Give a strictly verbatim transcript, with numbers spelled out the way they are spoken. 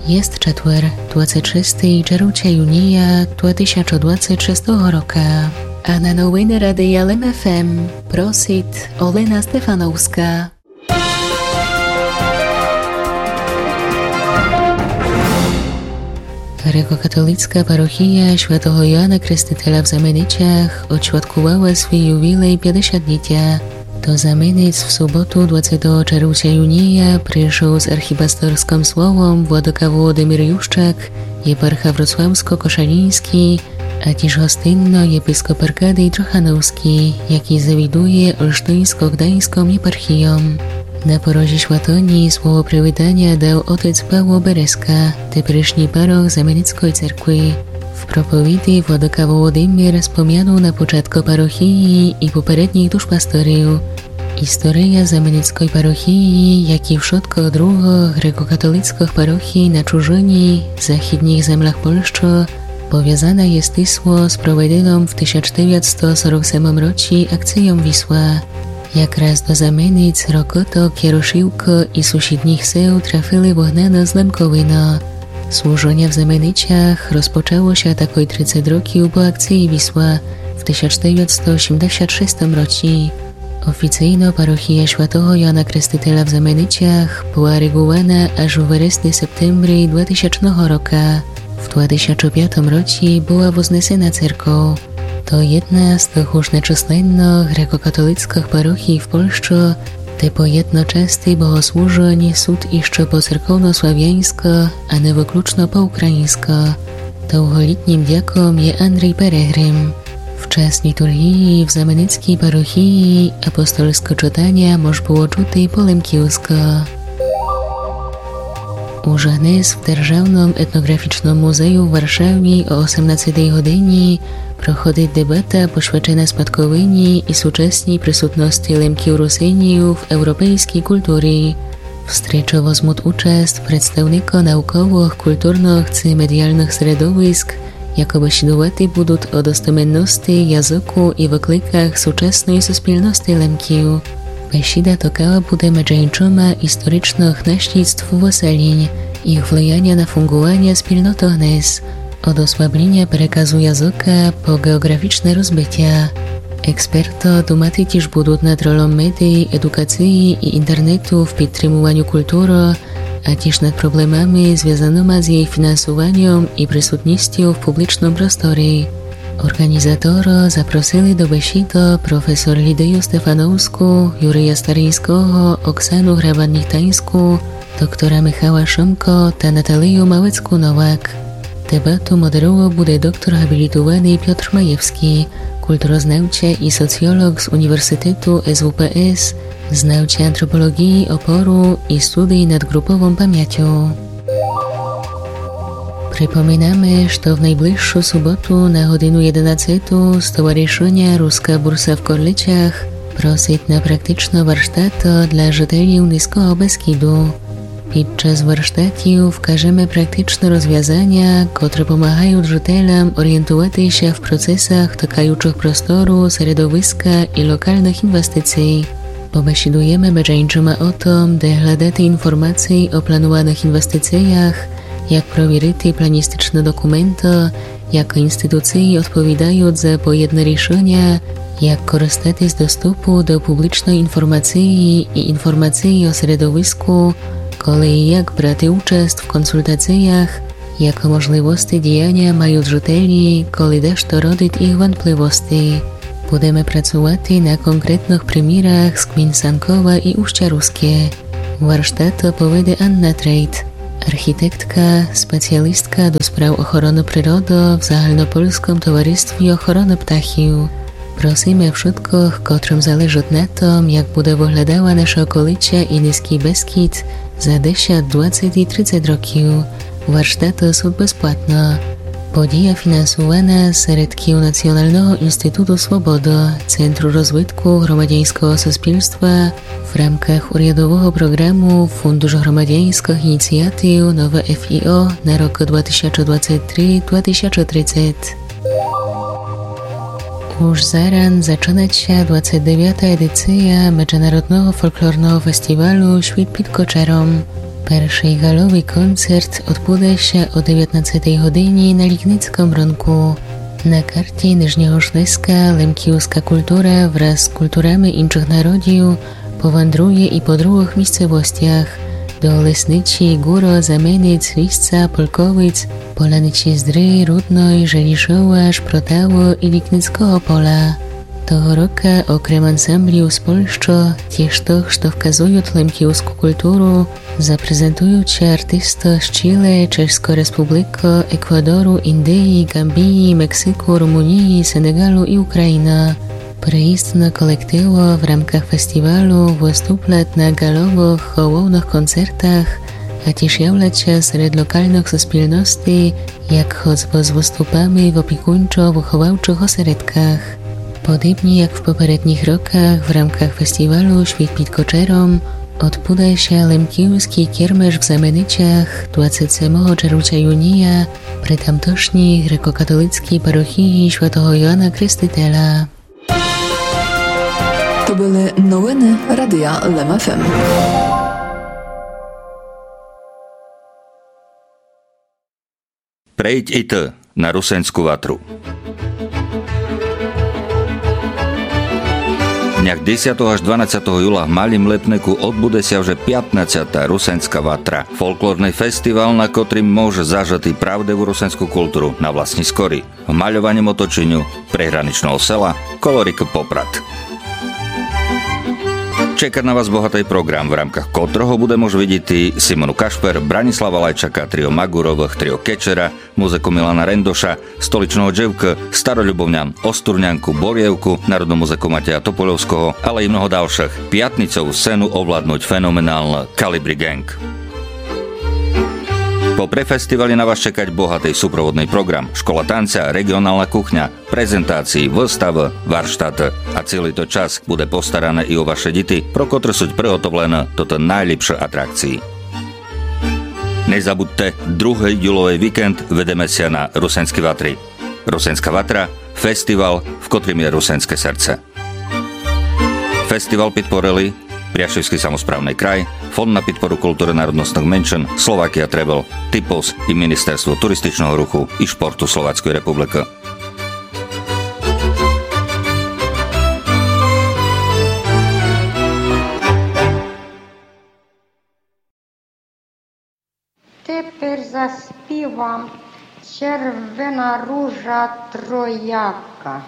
Єст четвер, двадцет шестый черлуця юния, два тисячы двадцет шестого рока. А на новины Радия Лем ФМ просит Олена Стефановска. Грекокатолицка парохия святого Йоана Крестителя в Заменицях одсвяткувала свій ювілей пятдесят літя. До Заменыц в суботу, двадцятого черлуця юния, пришол з архіпасторскым словом владыка Володимир Ющак, єпарха вроцлавско-кошаліньскій, а тіж гостинно єпископ Аркадій Трохановскій, якій завідує Олштиньско-Гдайньском єпархійом. На порозі святыні слово привітаня дал отец Павло Березка, теперішній парох Заменицкой церкви. В проповіди владыка Володимир спомянул на початку парохії і попередніх душпасторів. Істория Заменицкой парохії, як і вшыткых другых грекокатолицкых парохій на чужыні, західніх землях Польщы, повязана є стисло з проведеном в тисяч девятсто сорок семым році акцийом Вісла. Якраз до Заменыц, Рокыток, Ярошівкы і сусідніх сел трафили выгнаны з Лемковина. Служыня в Заменицях розпочало ся такой тридцет років по акциі Вісла в тисяч девятсто сімдесят шестым році. Офіцийно парохія святого Йоана Крестителя в Заменицях была регувана аж у вересни-септембрі два тисячного рока. В два тисячы пятым році была вознесена церков. То єдна з тых уж нечисленных грекокатолицкых парохій в Польщы, де по єдночасти богослужынь сут іщы по церковнославяньскы, а не выключно по україньскы. Довголітнім дяком є Андрій Перегрим. В час літургії в Заменицкій парохії апостольскы чытаня мож было чути по лемківскы. Уж гнес в Державном етнографічном музею в Варшаві о осемнадцятій годині проходит дебата, посвячена спадковині і сучасній присутности Лемків Русинів в европейскій культурі. В стрічы возмут участ представникы науковых, культурных ци медіалных середовиск, якы бесідувати будут о достеменности, языку і выкликах сучасной суспільности Лемків. Бесіда токала буде меджи іншыма історичных наслідств выселінь, їх влияня на фунґуваня спільноты гнес, од ослабліня переказу языка по ґеоґрафічне розбитя. Експерты думати тіж будут над ролом медій, едукациі і інтернету в підтримуваню культуры, а тіж над проблемами, звязаныма з єй фінансуваньом і присутністю в публічным просторі. Орґанізаторы запросили до бесіды професор Лідію Стефановску, Юрія Стариньского, Оксану Грабан-Нітаньску, доктора Михала Шымко та Наталію Малецку-Новак. Дебату модеровал буде доктор ґабілітуваный Пьотр Маєвскій, культурознавця і соціолоґ з Універсітету СВПС, знавця антрополоґії опору і студий над ґруповом памятю. Припоминаме, што в найближшу суботу на годину єденадцяту стоваришыня Руска бурса в Корлицях просит на практичны варштат для жителів Низького Бескіду. Під час варштатів вкажеме практичны розвязаня, котры помагают жителям орієнтувати ся в процесах токаючых простору, середовиска і локалных інвестиций. Побесідуєме меджи іншыма о том, де глядати інформациі о плануваных інвестициях, як провірити планістичны документы, як інституциі одповідают за поєдны рішыня, як користати з доступу до публічной інформациі і інформациі о середовиску, коли і як брати участ в консультациях, якы можливости діяня мают жителі, коли дашто родит їх ванпливости. Будеме працувати на конкретных примірах з ґмін Санкова і Уща Руске. Варштат поведе Анна Трейт, архітектка, спеціалістка до справ охороны природы в Загальнопольском товаристві охороны птахів. Просиме вшыткых, котрым залежыт на том, як буде выглядала наша околиця і Низькый Бескід за десят, двадцет і тридцет років, варштаты сут безплатно. Подія фінансувана з середків Націоналного інституту Свобода, Центру розвитку громадяньского суспільства в рамках урядового програму Фундуш громадяньскых ініціатив Нове ФІО на рокы два тисячы двадцет три, два тисячы тридцет. Уж заран зачынат ся двадцет девята едиція Меджынародного фолклорного фестівалю Світ під кочаром. Першый ґаловый концерт одбуде ся о девятнадцятій годині на Лікницьком ронку. На карті Нижнього Шлеска лемківска культура враз з культурами іншых народів повандрує і по другых місцевостях. До Лесничі, Ґуро, Заменець, Вісца, Полковець, Поляницї Здры, Рудной, Желішова, Шпротаво і Лікницького поля. Того рока, окрем ансамблів з Польщы, тіж тых, што вказують лемківску культуру, запрезентують ся артисты з Чиле, Чешской Республикы, Еквадору, Індії, Ґамбії, Мексику, Румунії, Сенеґалу і Україны. Приїздны колективы в рамках фестівалу выступлять на ґаловых, головных концертах, а тіж являть ся серед локалных суспільностей, як хоцбы з выступами в опікунчо-выховавчых осередках. Подібні як в попередніх роках, в рамках фестівалу Світ під кочером одбуде ся лемківскій кермеш в Заменицях двадцять семого червця юнія при тамтошній грекокатолицкій парохії святого Йоана Крестителя. То были новины Радия Лем ФМ. Прийдь і ты на Русенську ватру. Днях десятого аж дванадцятого юла в Малім Лепнику одбуде ся вже пятнадцята Русенська ватра, фолклорный фестівал, на котрім можеш зажыти правдиву русенську культуру на власні скорі, в мальованім оточеню приграничного села коло рікы Попрад. Чекать на вас богатый програм, в рамках котрого буде мож видіти Симону Кашпер, Бранислава Лайчака, тріо Маґуровых, тріо Кечера, музыку Мілана Рендоша, Столичного Джевкы, Старолюбовнян, Остурнянку, Борєвку, народну музыку Матея Топольовского, але і много далшых. Пятницову сцену овладнуть феноменалны Калібрі Ґенґ. Попри фестівалі на вас чекать богатый супроводный програм: школа танця, реґіонална кухня, презентації, выставы, варштаты. А цілый тот час буде постаране і о ваше діти, про котры суть приготовлены тоты найліпшы атракції. Не забудьте, другый юловый вікенд видиме ся на Русенській ватрі. Русенська ватра — фестівал, в котрім є русенське серце. Фестівал підпорили Пряшівскій самосправный край, Фонд на підпору культуры народностных меншин, Slovakia Travel, Typos і Міністерство туристичного руху і шпорту Словацькой републикы. Тепер заспівам Червена ружа трояка.